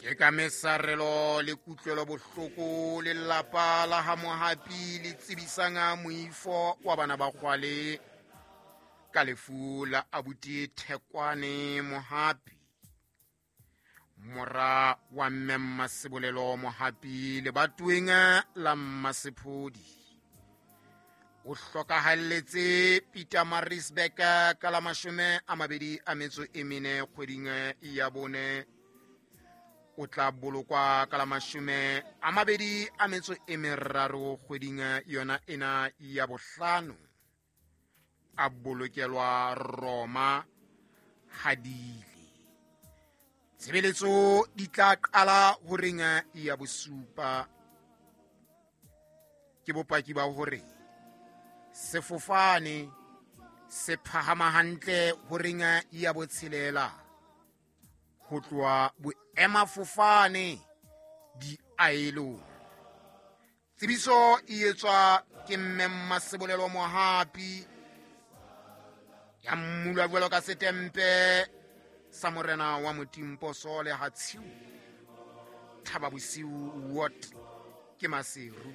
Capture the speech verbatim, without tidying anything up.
Ke ka mesarelo le kutlwelo bohloko lelapa la ha Mohapi le tsebisang moifo wa bana ba Kgwale ka lefu la abuti Thekwane Mohapi, mora wa mme Mmasebolelo Mohapi lebatoweng la Mmasephodi. O hlokahalletse Pietermaritzburg ka la mashome a mabedi a metso e mene kgweding ya bone. O tla bolokwa ka la mashome a mabedi a metso e meraro kgweding yona ena ya bohlano. A bolokelwa Roma Hadile. Tshebeletso di tla qala horeng ya bosupa. Ke bopaki ba hore sefofane se phahama hantle horeng ya botshelela ho tloha boemafofane diaelong. Tsebiso e etswa ke mme Mmasebolelo Mohapi ya mmulwa jwalo ka setempe sa morena wa Motimposo le Hatshiu Thaba Bosiu Ward ke Maseru.